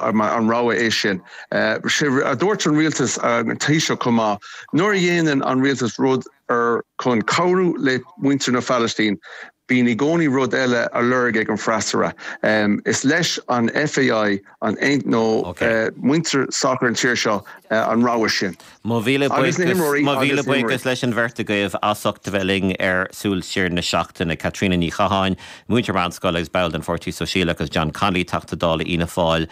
An rogha é sin? Sé a dúirt an rialtas, an Taoiseach chomh maith, nuair a dhéanann an rialtas rud ar chun cabhrú le muintir na Phalaistín, bíonn i gcónaí rud eile á lorg ag an freasúra. Is leis an FAI an nó muintir sacair an tír seo an rogha sin. Mo mhíle buíochas, mo mhíle buíochas leis an bheirt agaibh as ucht a bheith linn ar Súil Siar na Seachtaine, Caitríona Ní Chatháin, múinteoir meánscoile agus ball den Pháirtí Sóisialach agus John Connolly, Teachta Dála Fhianna Fáil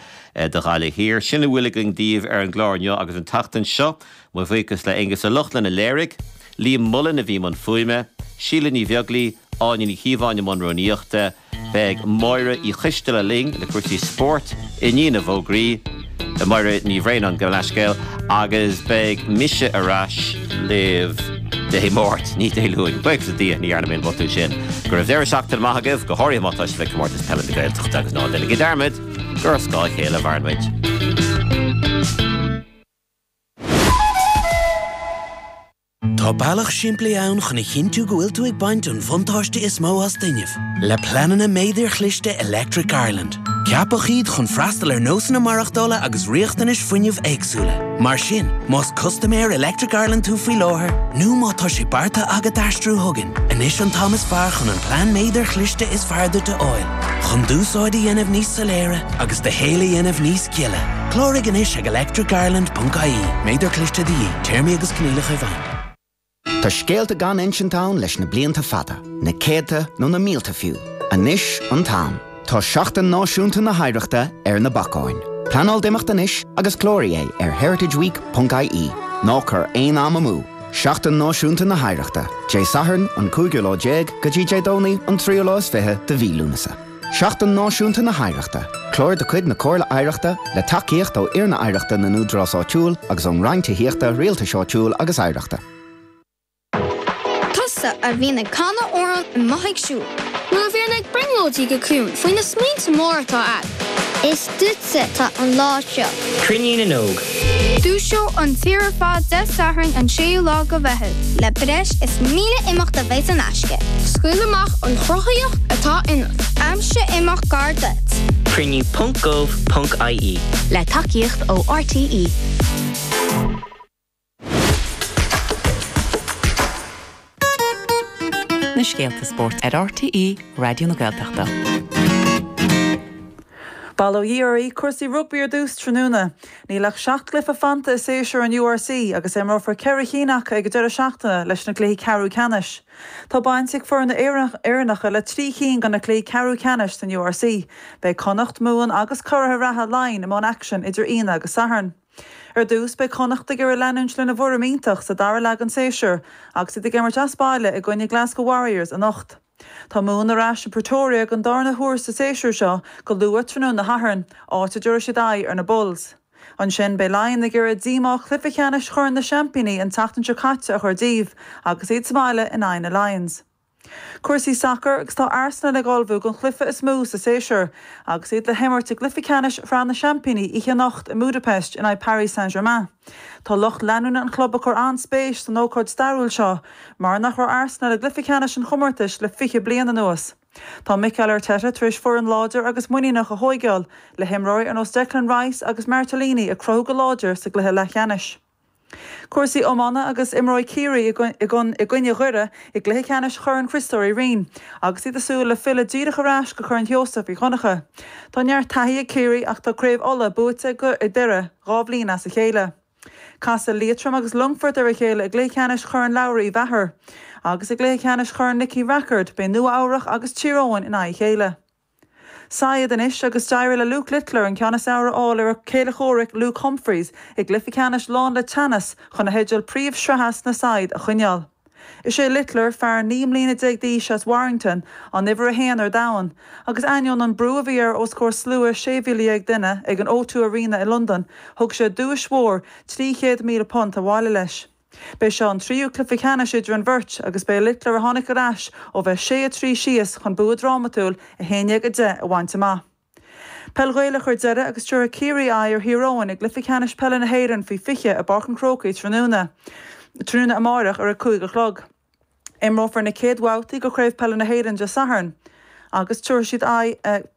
do Ghaillimh Thiar. Sin a bhfuil againn daoibh ar an gclár inniu agus an tseachtain seo. Mo bhuíochas le Aonghus Ó Lochlainn a léirigh, Liam Mullen a bhí i mbun fuaime, Síle Ní Bheaglaoi, Áine Ní Chíobháin i mbun rúnaíochta, Beidh Máire Uí Choisteala linn le cúrsaí spóirt i ndiaidh na bhfógraí, Máire Ní Bhraonáin, gabh mo leithscéal, agus beidh mise ar ais libh Dé Máirt, ní Dé Luain. Buíochas le Dia, ní dhearna mé an botún sin. Go raibh deireadh seachtaine maith agaibh, go háirithe má tá sibh ag Comórtas Peile na Gaeltachta agus ná déanaigí dearmad gur ar scáth a chéile a mhaireann muid. Tá bealach simplí ann chun a chinntiú go bhfuil tú ag baint an bhuntáiste is mó as d'fhuinneamh, le pleananna méadair chliste Electric Ireland. Ceapadh iad chun freastal ar nósanna maireachtála agus riachtanais fuinnimh éagsúla. Mar sin, más custaiméir Electric Ireland tú faoi láthair, nó má tá sé beartaithe agat aistriú chugainn, anois an t-am is fearr chun an plean méadair chliste is fearr duit a fháil, chun d'úsáid a dhéanamh níos soiléire agus do shaol a dhéanamh níos gile. Cláraigh anois ag electricireland.ie. Méadar cliste de dhíth. Téarmaí agus coinníollacha i bhfeidhm. Tá scéalta gan insint ann leis na blianta fada, na céadta nó na mílte fiú. Anois an t-am. Tá Seachtain Náisiúnta na hOidhreachta ar na bacáin. Pleanáil d'imeacht anois agus cláraigh é ar heritageweek ponc ie. Ná cuir aon am amú! Seachtain Náisiúnta na hOidhreachta, Dé Sathairn an cúigiú lá déag go dtí Dé Domhnaigh an tríú lá is fiche de mhí Lúnasa. Seachtain Náisiúnta na hOidhreachta, clár de chuid na Comhairle Oidhreachta le tacaíocht ó Fhoirne Oidhreachta na nÚdarás Áitiúil agus ón Roinn Tithíochta, Rialtais Áitiúil agus Oidhreachta. Tusa a bhíonn ag canadh amhrán amuigh ag siúl. Nó a bhíonn ag brionglóidí go ciúin faoi na smaointe móra atá a'd. Is duitse atá an lá seo. Cruinniú na nÓg. Dúiseoidh an tír ar fad Dé Sathairn an 6ú lá de Mheitheamh. Le breis is 1,000 imeacht a bheidh in aisce. Scaoil amach an chruthaíocht atá ionat. Aimsigh imeacht gar duit. Cruinniú ponc gov ponc ie. Le tacaíocht ó RTÉ. Na scéalta spóirt ar RTÉ Raidió na Gaeltachta. Bail ó Dhia oraibh, cúrsaí rugbaí ar dtús tráthnóna. Níl ach 7 gcluiche fanta i séasúr an URC agus imreofar 4 chinn acu ag an deireadh seachtaine leis na cluichí ceathrú ceannais. Tá baint ag foirne Éireannacha le 3 chinn de na cluichí ceathrú ceannais san URC. Beidh Connacht, Mumhan agus curaithe reatha Laighin i mbun aicsin idir Aoine agus Satharn. Ar dtús, beidh Connacht ag iarraidh leanúint lena bhfoirm iontach sa dara leath den séasúr agus iad ag imirt as baile i gcoinne Glasgow Warriors anocht. Tá Mumhan ar ais i Pretoria don darna huair sa séasúr seo go luath tráthnóna Shathairn, áit a dtabharfaidh siad aghaidh ar na Bulls. Ansin, beidh Laighin ag iarraidh díomá chluiche ceannais Chorn na Seaimpíní an tseachtain seo caite a chur díobh agus iad sa mbaile in aghaidh na Lions. Cúrsaí sacair agus tá Arsenal ag ullmhú don chluiche is mó sa séasúr agus iad le himirt i gcluiche ceannais Shraith na Seaimpíní oíche anocht i mBudapest in aghaidh Paris Saint-Germain. Tá lucht leanúna an chlub ag cur an-spéis san ócáid stairiúil seo mar nach raibh Arsenal i gcluiche ceannais an chomórtais le 20 bliain anuas. Tá Mikel Arteta tar éis foireann láidir agus muiníneach a thóigeáil le himreoirí ar nós Declan Rice agus Martinelli ag cruthú go láidir sa gcluiche leathcheannais. Cúrsaí iomána agus imreoidh Ciarraí i gcoinne Dhoire i gcluiche ceannais Chorn Chriostóir Uí Rinn agus iad ag súil le filleadh díreach ar ais go Corn Sheosaimh Uí Dhonncha. Tá neart taithí ag Ciarraí ach tá Craobh Uladh buaite ag Doire 2 bhliain as a chéile. Casfaidh Liatroim agus Longfort ar a chéile i gcluiche ceannais Chorn Labhraí Uí Mheachair. Agus i gcluiche ceannais Chorn Nicky Rackard beidh Nua Eabhrach agus Tír Eoghain in aghaidh a chéile. Saighead anois agus d'éirigh le Luke Littler an ceann is fearr a fháil ar a chéile comhraic Luke Humphries i gcluiche ceannais lán le teannas chun a theideal príomh-shraithe sna saighead a choinneáil. Is é Littler, fear 19 mbliana d'aois as Warrington, an uimhir a haon ar domhan, agus ainneoin an brú a bhí air os comhair slua 16,000 duine ag an O2 Arena i Londain, thug sé duais mhór £300,000 abhaile leis. B'é seo an tríú cluiche ceannais idir an bheirt agus b'é Littler a tháinig ar ais ó bheith 6-3 síos chun bua drámatúil 11-10 a bhaint amach. Peil Ghaelach ar deireadh agus tabharfaidh Ciarraí aghaidh ar Thír Eoghain i gcluiche ceannais peile na hÉireann faoi 20 i bPáirc an Chrócaigh tráthnóna tráthnóna amárach ar a 5 a chlog. Imreofar na chéad bhabhtaí de Chraobh Peile na hÉireann Dé Sathairn agus tabharfaidh siad aghaidh.